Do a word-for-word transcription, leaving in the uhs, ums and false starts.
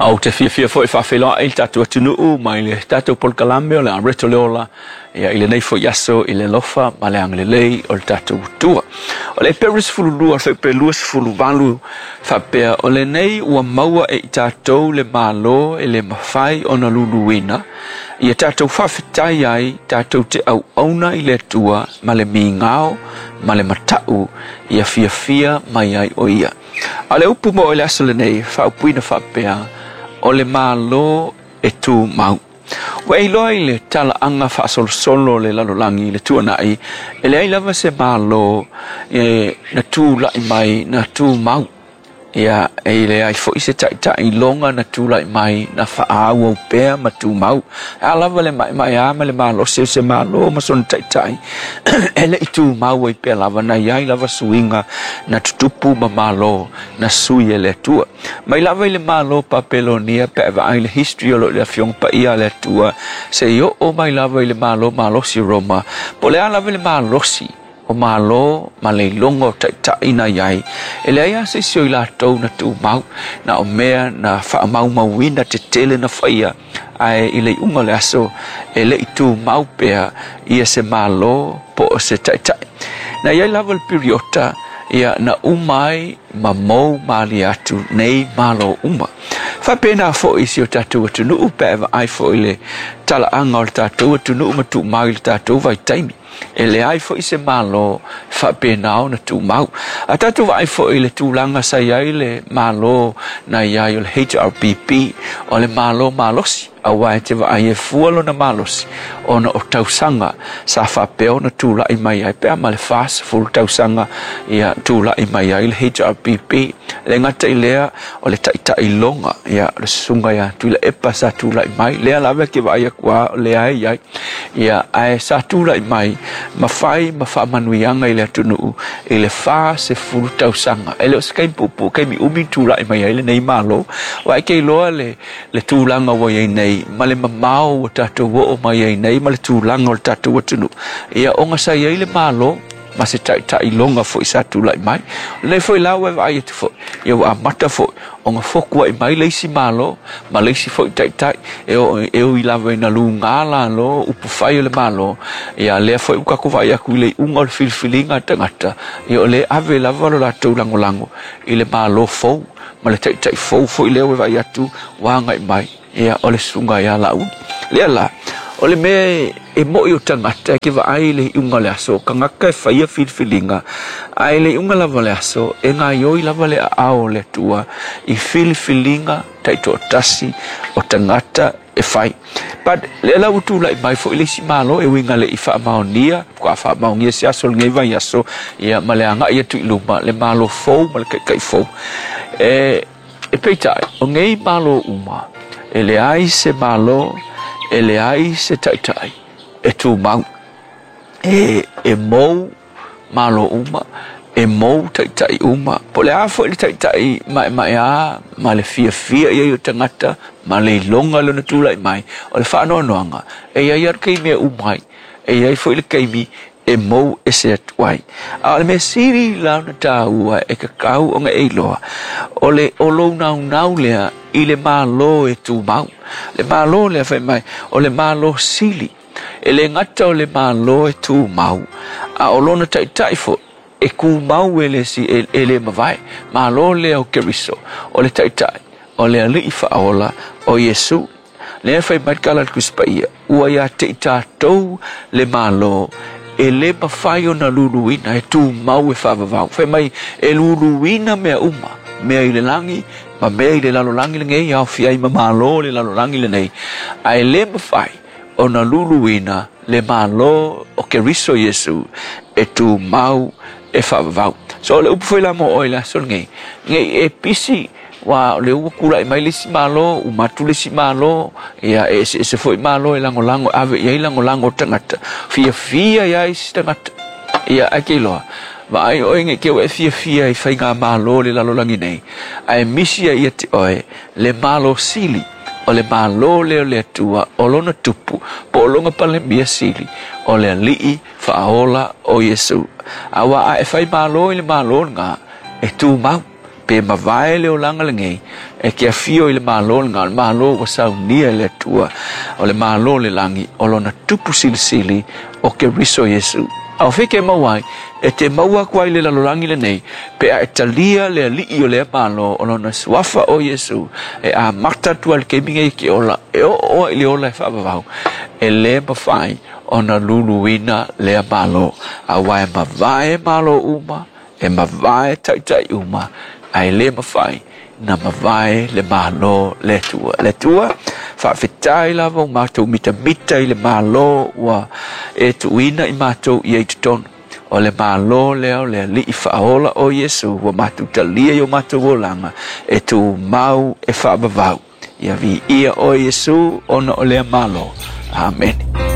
Ou te fiafia foi faafeiloai le tatou atunuu mai le tatou polokalame o le Areto le Ola ia i lenei foi aso i le alofa ma le agalelei o le tatou Atua. O le Eperu sefululua fuaiupu luasefuluvalu faapea o lenei ua maua e i tatou le Malo e le mafai ona luluina ia tatou faafetai ai tatou te auauna i le Atua ma le migao ma le matau ia fiafia mai ai o ia. A le upu mo le aso lenei faaupuina faapea o le Malo e tumau. Ua e iloa i le talaaga faasolosolo le lalolagi le tuanai, e leai lava se Malo e na tulai mai na tumau. Ia e leai foi se taitai loga na tulai mai na faaauau pea ma tumau. A lava le maemaea ma le malosi o se Malo ma sona taitai e le i tumau ai pea lava na iai lava suiga na tutupu ma Malo na sui e le Atua. Mai lava i le Malo Papelonia pe vaai le history o lo le afioga paia a le Atua se i oo mai lava i le Malo malosi o Roma. Po o le a lava le malosi o Malo ma le iloga o taitai na iai, e leai lava se isi o i latou na tumau, na o mea na faamaumauina tetele na faia, ae i le iuga o le aso e le i tumau pea ia se Malo po o se taitai. Na iai lava le piriota ia na uma ai ma mou malie atu nei Malo uma. Faapena foi i si o tatou atunuu pe vaai foi le talaaga o le tatou atunuu ma tumau i le tatou vaitaimi. E leai foi se Malo faapena ona tumau. A tatou vaai foi i le tulaga sa i ai le Malo na i ai o le H R P P, o le Malo malosi, aua e te vaai e fua lona malosi ona o tausaga sa faapea ona tulai mai ai pea ma le fasefulu tausaga ia tulai mai ai le H R P P. Le gata i lea o le taitailoga ia le susuga ia Tuilaepa sa tulai mai, lea lava ke vaai atu a o lea e i ai ia ae sa tulai mai ma fai ma faamanuiaga i le atunuu i le fasefulu tausaga. E le o se kaimi puupuu, kaimi umi tulai mai ai lenei Malo, ua e ke iloa le le tulaga ua i ai nei ma le mamao ua tatou oo mai ai nei ma le tulaga o le tatou atunuu. Ia ona sa i ai le Malo ma se taitailoga foi sa tulai mai. O lenei foi la ua e vaai atu foi, ia ua amata foi ona foku ai mai le isi Malo ma le isi foi taitai e o e ui lava ina luga lalo upu fai o le Malo. Ia lea foi ua tatou vaai atu i le iuga o le filifiliga a tagata, ia o le ave lava lo latou lagolago i le Malo fou ma le taitai fou foi lea ua vaai atu ua agai mai ia o le susuga ia Lauli. Lea la o le mea e moi o tagata ke vaai le iuga o le aso, tagata e faia filifiliga, ae le iuga lava o le aso e gaioi lava le aao o le Atua i filifiliga taitoatasi o tagata e fai. But lea la ua tulai mai foi le isi Malo e uiga le i faamaonia, faatoa faamaonia se aso lenei vaiaso ia ma le agai atu i luma le Malo fou ma le taitai fou. E e peitai o nei Malo uma e leai se Malo, e leai se taitai e tumau. E e mou Malo uma, e mou taitai uma. Po o le a foi le taitai maemaea ma le fiafia ia i o tagata ma le iloga lona tulai mai, o le faanoanoaga e iai lava le taimi e uma ai, e iai foi le taimi e mou ese atu ai. A o le mea sili la ona taua e tatau ona e iloa, o le o lou naunau lea i le Malo e tumau. Le Malo lea fai mai, o le Malo sili. E le gata o le Malo e tumau, a o lona taitai foi e kumau e le si e, e le mavae. Malo lea o Keriso, o le taitai, o le alii faaola o Iesu. Lea fai mai le tala a le Tusi Paia, ua ia te i tatou le Malo e le mafai ona luluina e tumau e faavavau. Fai mai e luluina mea uma, mea i le lagi ma mea i le lalolagi lenei, aofia ai ma Malo le lalolagi lenei, ae le mafai ona luluina le Malo o Keriso Iesu e tumau e faavavau. So o le upu foi la mo oe le aso lenei, nei e pisi wa o le ua tulai mai le isi Malo, uma atu le isi Malo, ia e eseese foi Malo e lagolago ave i ai lagolago o tagata, fiafia iai isi tagata. Ia ae ke iloa vaai oe nei te ua e fiafia i faiga Malo le lalolagi nei, ae misi ai ia te oe le Malo sili, o le Malo lea o le Atua, o lona tupu po o lona palemia sili, o le alii faaola o Iesu. Aua a e fai Malo i le Malo lena e tumau, Pe mavae le olaga lenei e ke afio i le malo lena, o le malo ua saunia e le Atua, o le malo o le lagi o lona tupu silisili o Keriso Iesu. A o feke maua ai, e te maua atu ai le lalolagi lenei, pe a e talia le alii o lea malo o lona suafa o Iesu, e amata atu ai le taimi nei ke ola, e oo oa i le ola e faavavau, e lē mafai ona luluina lea malo. Auā e mavae malo uma, e mavae taitai uma, ae lē mafai na mavae le malo le Atua. Le Atua, faafetai lava ua matou mitamita i le malo ua e tuuina i matou ia i totonu. O le malo lea o le alii faaola o Iesu ua matou talia i o matou olaga e tumau e faavavau. Ia viia oe Iesu ona o lea malo. Amene.